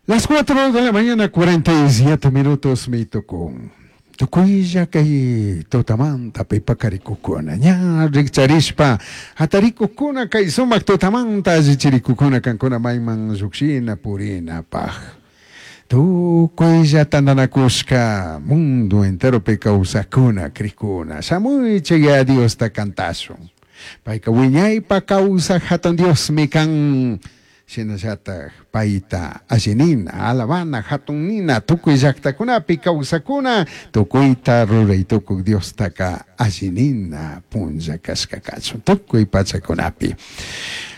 Las 4 de la mañana, 47 minutos mi tukun. Tukuylla kay tutamanta pipakarikukuna ña rikcharishpa hatarikukuna kay sumak tutamanta allichirikukuna kankuna mayman llukshina purinapaj. Tukuylla tantanakushka mundo enteropi kawsakuna krikuna shamuychik ya Diosta kantashun. Payka wiñaypa kawsaj hatun Diosmi kan. Shinallataj payta allinina, alabana, hatun nina, tukuy llaktakunapi kawsakuna, tukuyta ruray tukuk Diostaka allinina punlla kashka kachun tukuy pachakunapi.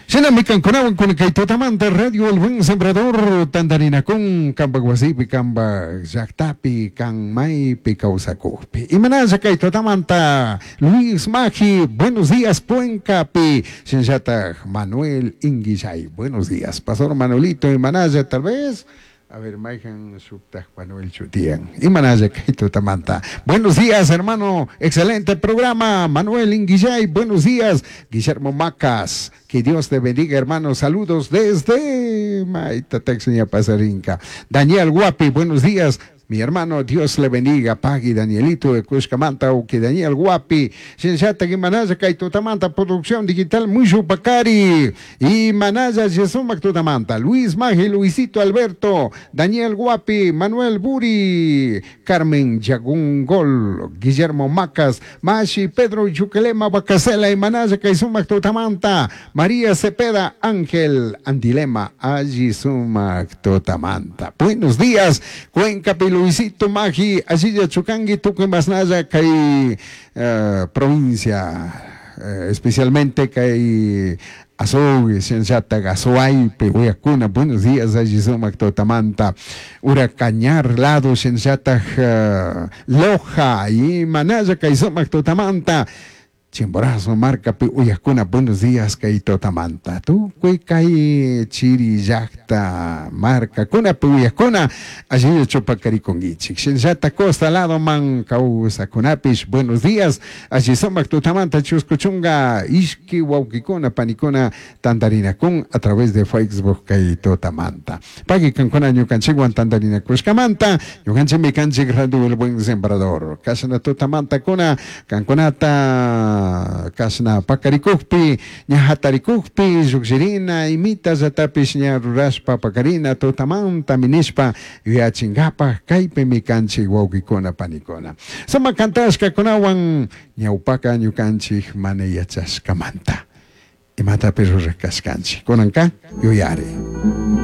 Shinami kankunawan kun kay tutamanta Radio El Buen Sembrador tantarinakun kanpak wasipi, kanpak llaktapi, kan maypi kawsakukpi. Imanalla kay tutamanta Luis Magi, buenos días Cuencapi, shinallataj Manuel Inguillay, buenos días. Pastor Manuelito imanalla tal vez. A ver, mayhan shuktaj Manuel chutiyan. Imanalla kay tutamanta. Buenos días, hermano. Excelente programa. Manuel Inguillay, buenos días. Guillermo Macas, que Dios te bendiga, hermano. Saludos desde Maita Texña Pasarinca. Daniel Guapi, buenos días. Mi hermano, Dios le bendiga. Pagui Danielito de Cushcamanta, Uki Daniel Guapi. Shinshata Manaya kay tutamanta, producción digital Mushu Pacari. Y Manaya Yesumac Tutamanta. Luis Magi, Luisito Alberto, Daniel Guapi, Manuel Buri, Carmen Yagungol, Guillermo Macas, Mashi, Pedro Yuquelema, Bacasela y Manaya kay Sumac Tutamanta, María Cepeda, Ángel Andilema, Allí Sumac Tutamanta. Buenos días, Cuenca Luisito Magi, Asilla Chucangui, Tucuy Masnaya, kay provincia, especialmente kay Azogue, Shinshata, Azuaype, Uyacuna, buenos días, allí sumac Totamanta, Huracañar, lado, Shinshata, Loja, y Manaya, kay sumac Totamanta, Chimborazo, Marcapi, Uyacuna, buenos días, kay Totamanta, Tucuy, kay Chiri, llakta, Marca, Cuna, Uyacuna, allí Chupacariconguichik, Shinshata, Costa, lado, man, Causa, Cunapish, buenos días, allí sumac Totamanta, Chuscuchunga, Ishki, Wauquicuna, Panicuna, Tandarinacun, a través de Facebook, kay Totamanta. Pagui, Cancuna, Ñucanchiguan, Tandarina, Cuscamanta, Ñucanchi, Micanchi, Radio El Buen Sembrador, Casana Totamanta, Cuna, Cancunata, Kasna pakarikukpi, ña hatarikukpi, llukshirina, imita llatapish ña rurashpa pakarina, tutamanta minishpa, yuyachinkapak, kaypimi kanchik wawkikuna panikuna. Sumak kantashkakunawan ñawpaka ñukanchik mana yachashkamanta. Imatapish rurakashkanchik. Kunanka yuyari.